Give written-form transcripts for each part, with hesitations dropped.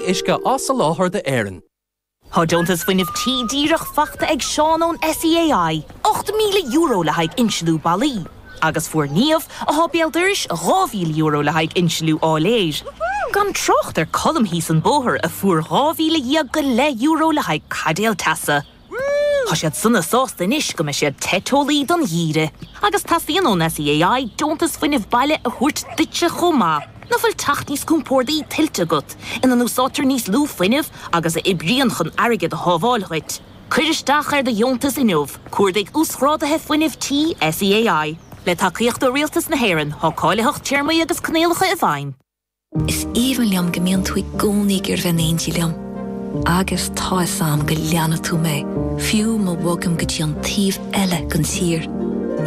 Uisce á soláthar d'Éirinn. Tá deontas fuinnimh tí díreach faighte ag Seán ón SEAI, €8,000 le haghaidh insliú ballaí, agus fuair Niamh, atá béal dorais, €2,000 le haghaidh insliú áiléir. Gan trácht ar Colm thíos an bóthar a fuair €12,000 go leith le haghaidh caidéal teasa. Tá siad sona sásta anois go mbeidh siad te teolaí don gheimhreadh. Agus teastaíonn ón SEAI deontas fuinnimh baile a thabhairt duitse chomh maith. Nach bhfuil teach níos compórdaí tuillte agat, ina n-úsáidtear níos lú fuinnimh agus a oibríonn chun airgead a shábháil dhuit? Cuir isteach ar do dheontas inniu, cuardaigh Uasghráduithe Fuinnimh Tí SEAI. Le tacaíocht ó Rialtas na hÉireann, tá cáilitheacht, téarmaí agus coinníollacha i bhfeidhm. Is aoibhinn liom go mbíonn tú i gcónaí ag iarraidh bheith in éindí liom. Agus tá 'fhios a'm go leanfaidh tú mé, fiú má bhogaim go dtí an taobh eile den tír.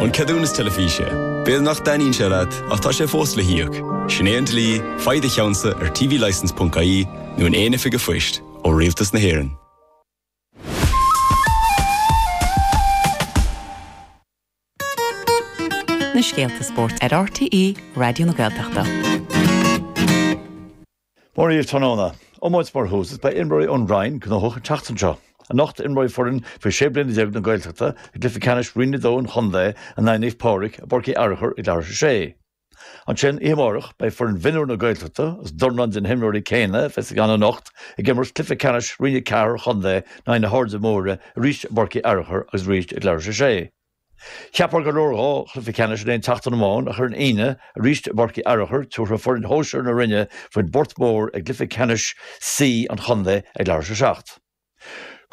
An ceadúnas teilifíse. B'fhéidir nach dtaitníonn sé leat, ach tá sé fós le híoc. Sin é an dlí, faigh do cheannsa ar tvlicence.ie nó in aon oifig an phoist, ó Rialtas na hÉireann. Na scéalta spóirt ar RTÉ Raidió na Gaeltachta. Mora daoibh tráthnóna. Iomáint mar thús is beidh imreoirí ón Rinn gnóthach an tseachtain seo. Anocht imreoidh foireann faoi 16 bliana na Gaeltachta i gcluiche ceannais Roinn 2 an chontae in aghaidh Naomh Pádraig i bPáirc Uí Fhearchair ag leathuair tar éis a sé. Ansin, oíche amárach, beidh foireann mhionúir na Gaeltachta, agus dornán de na himreoirí céanna a bheas ann anocht, ag imirt cluiche ceannais Roinn 4 an chontae in aghaidh na hAirde Móire arís i bPáirc Uí Fhearchair agus arís ag leathuair tar éis a sé. Cheapfá gur leor 2 chluiche ceannais in aon tseachtain amháin ach ar an Aoine, arís i bPáirc Uí Fhearchair, tabharfaidh foireann shóisir na Rinne faoin bPort Mór i gcluiche ceannais C an chontae ag leathuair tar éis a 7.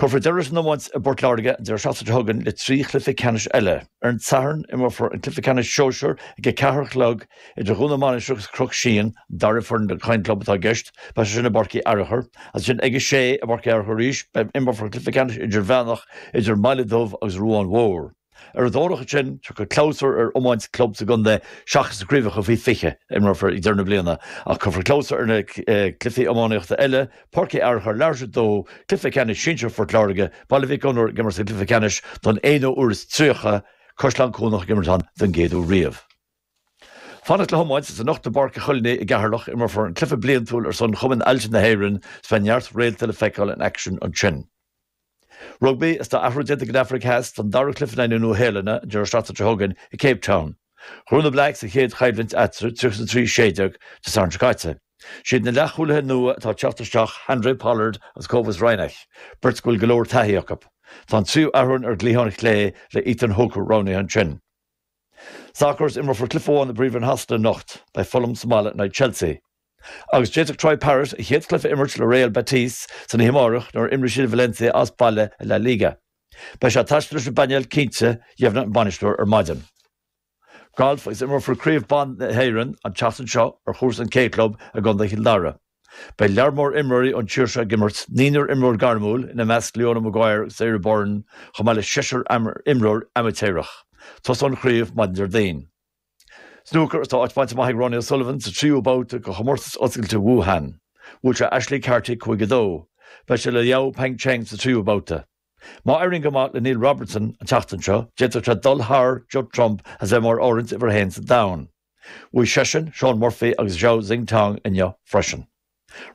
Cuirfear deireadh leis an iomáint i bPort Láirge an deireadh seachtaine seo chugainn le 3 chluiche ceannais eile. Ar an Satharn, imreofar an cluiche ceannais sóisir ag a 4 a chlog idir Dhún na Mainistreach agus Cnoc Síon, an dara foireann den Choinn Club atá i gceist, beidh sé sin i bPáirc Uí Fhearchair. Ansin ag a 6 i bPáirc Uí Fhearchair arís, beidh imreofar an cluiche ceannais idirmheánach idir an mBaile Dubh agus Ruán Mhór. Ar an Domhnach ansin, tiocfaidh clabhsúr ar iomáint club sa gcontae seachas na craobhacha faoi 20 a imreofar ag deireadh na bliana, ach cuirfear clabhsúr ar na cluichí iománaíochta eile, Páirc Uí Fhearchair, leathuair tar éis a 2, cluiche ceannais sinsir Phort Láirge, Baile Mhic Gonair ag imirt sa gcluiche ceannais don aonú huair is 30, Caisleán Cuanach ag imirt ann don gcéad uair riamh. Fanacht le hiomáint is anocht i bPáirc an Choinnigh i gCeatharlach, imreofar an cluiche bliantúil ar son Chumann Ailse na hÉireann is beidh neart réalta le feiceáil in aicsean ansin. Rugbaí is tá athrú déanta ag an Afraic Theas don dara cluiche in aghaidh na Nua-Shéalainne an deireadh seachtaine seo chugainn i Cape Town. Ghnóthaigh na Blacks an chéad choimhlint eatarthu, 33 16, Dé Sathairn seo caite. Siad na leathchúlaithe nua atá ag teacht isteach Handre Pollard agus Cobus Reinach, beirt go bhfuil go leor taithí acu. Tá an tríú athrú ar an gcliathán chlé le Ethan Hooker roghnaithe ansin. Sacar is imreofar cluiche amháin i bPríomhroinn Shasana anocht. Beidh Fulham sa mbaile in aghaidh Chelsea. Agus d'fhéadfadh Troy Parrott a chéad chluiche a imirt le Real Betis san oíche amárach nuair a imreoidh siad Valencia as baile i La Liga. Beidh sé ag taisteal leis an bpainéal cinnte, dheimhnigh an bainisteoir ar maidin. Galf agus imreofar Craobh Ban na hÉireann an tseachtain seo ar chúrsa an K Club i gContae Chill Dara. Beidh lear mór imreoirí ón tír seo ag imirt, naonúr imreoir gairmiúil, ina measc Leona Maguire agus Sarah Byrne, chomh maith le seisear imreoir amaitéarach. Tosóidh an chraobh maidin Déardaoin. Snúcar, Tá áit bainte amach ag Ronnie O'Sullivan sa tríú babhta de chomórtas oscailte Wuhan. Bhuail sé Ashley Carty 5-2. Beidh sé le Liao Peng Cheng sa tríú babhta. Má éiríonn go maith le Neil Robertson an tseachtain seo, d'fhéadfadh sé dul thar Judd Trump as bheith mar áirithint uimhir a haon sa domhan. Bhuaigh seisean, Shaun Murphy agus Zhao Xintong inniu freisin.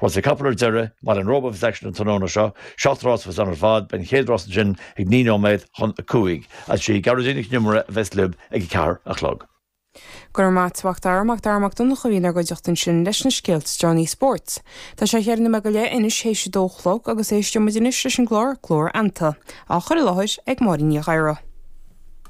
Rásaí capall ar deireadh, i mBaile an Róba a bheas aicsean an tráthnóna seo, 7 rás a bheas ann ar fad, beidh an chéad rás ansin ag 9 nóiméad chun 5. Agus sí Gearóidín Nic an Iomaire a bheas libh ag a 4 a chlog. Go raibh maith a't, a Mhac Dara, Mac Dara Mac Donncha a bhí inár gcuideachta ansin leis na scéalta is deireanaí spóirt. Tá sé cheithre nóiméad go leith anois théis a dó a chlog agus éisteoidh muid anois leis an gclár Glór Fheannta, á chur i láthair ag Máirín Ní Ghadhra.